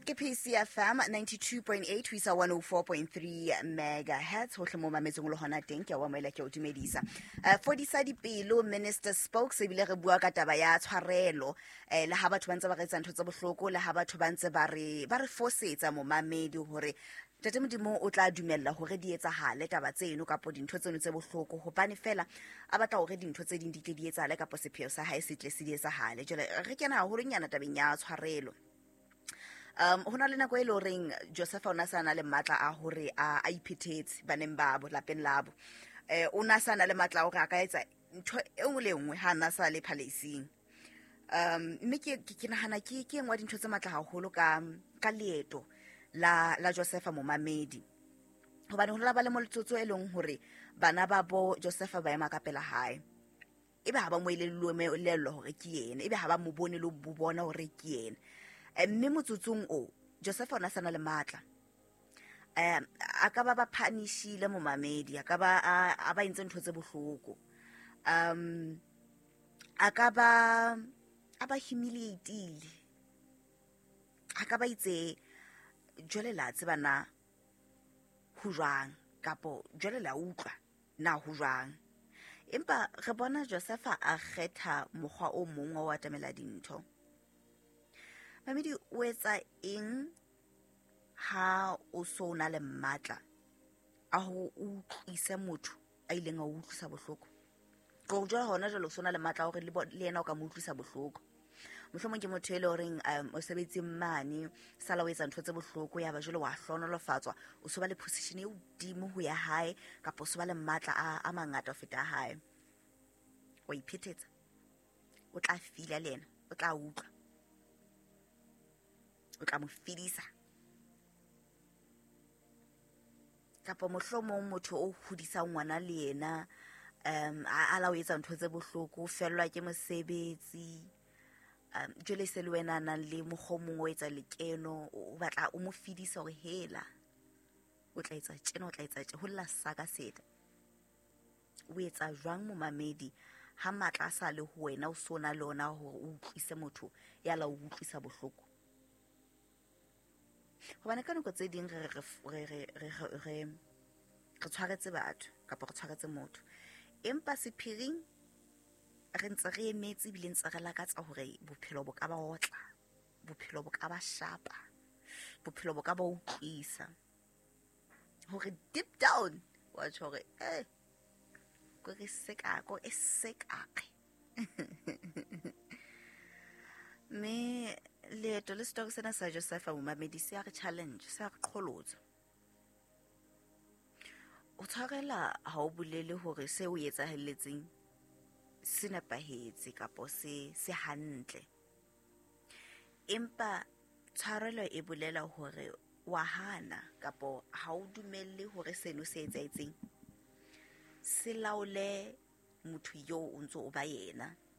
Ke PCFM 92.8 ho isa 104.3 megahertz. Hohle mo mametseng o le hona teng, ke a o amohela, ke a o dumedisa. Fodisa dipelo, Minister Spokes, ebile re bua ka taba ya tshwarelo. Le ha batho ba ntse ba re etsa ntho tse bohloko, le ha batho ba ntse ba re fosetsa, momamedi, hore Ntate Modimo o tla dumella hore di etsahale taba tseno kapo dintho tseno tse bohloko, hobane fela a batla hore dintho tse ding di tle di etsahale kapo sepheo sa hae se tle se di etsahale. Jwale re kena haholonyana tabeng ya tshwarelo. Ho na le nako e le horeng Josepha o ne a sa na le matla a hore a iphethetse baneng babo lapeng labo. O ne a sa na le matla a hore a ka etsa ntho e nngwe le e nngwe ha a na sa le palace-ing. Mme ke nahana ke e nngwe ya dintho tse matla haholo ka leeto la Josepha, momamedi, hobane ho la ba le motsotso e leng hore bana ba bo Josepha ba ema ka pela hae, ebe ha ba mo elellwe hore ke yena, ebe ha ba mo bone le bo bona hore ke yena. Mme motsotsong o Josepha o na sa na le matla. A ka ba ba punishile, momamedi, a ka ba a ba entse ntho tse bohloko, a ka ba a ba humiliatile, a ka ba itse jwale la tseba na ho jwang, kapo jwale la utlwa na ho jwang. Empa re bona Josepha a kgetha mokgwa o mong wa ho atamela dintho. Mamedi, o etsa eng ha o so na le matla a ho utlwise motho a ileng a o utlwisa bohloko? Ko jwale hona jwale o so na le matla a hore le yena o ka mo utlwisa bohloko. Mohlomong ke motho e le horeng o sebetseng mane, sala o etsa ntho tse bohloko, ya ba jwale wa hlohonolofatswa, o so ba le position e hodimo ho ya hae, kapa o so ba le matla a mangata ho feta a hae. Wa iphethetsa, o tla fila le yena, o tla utlwa, o tla mo fedisa. Kapa mohlomong motho o hodisang ngwana le yena, a la o etsa ntho tse bohloko, o fellwa ke mosebetsi, jwale se le wena a nang le mokgwa o mong o etsa lekeno, o batla o mo fedisa hore hela o tla etsa tjena, o tla etsa tje, ho lla saka seta. O etsa jwang, momamedi, ha matla a sa le ho wena, o so na le ona hore o utlwise motho ya la o utlwisa bohloko? Hobane ka nako tse ding re tshwaretse batho kapa re tshwaretse motho, empa sephiring re ntse re emetse, ebile ntse re lakatsa hore bophelo bo ka ba otla, bophelo bo ka ba shapa, bophelo bo ka ba utlwisa hore deep down wa tjho hore ko re seka, ko e sekaqe. Mme leeto le story sena sa Josepha, momamedi, se a re challenge, se a re qholotsa. O tshwarela ha o bolele hore se o etsahelletseng se nepahetse kapo se hantle, empa tshwarelo e bolela hore wa hana kapo ha o dumelle hore seno se etsahetseng se laole motho eo o ntso o ba yena.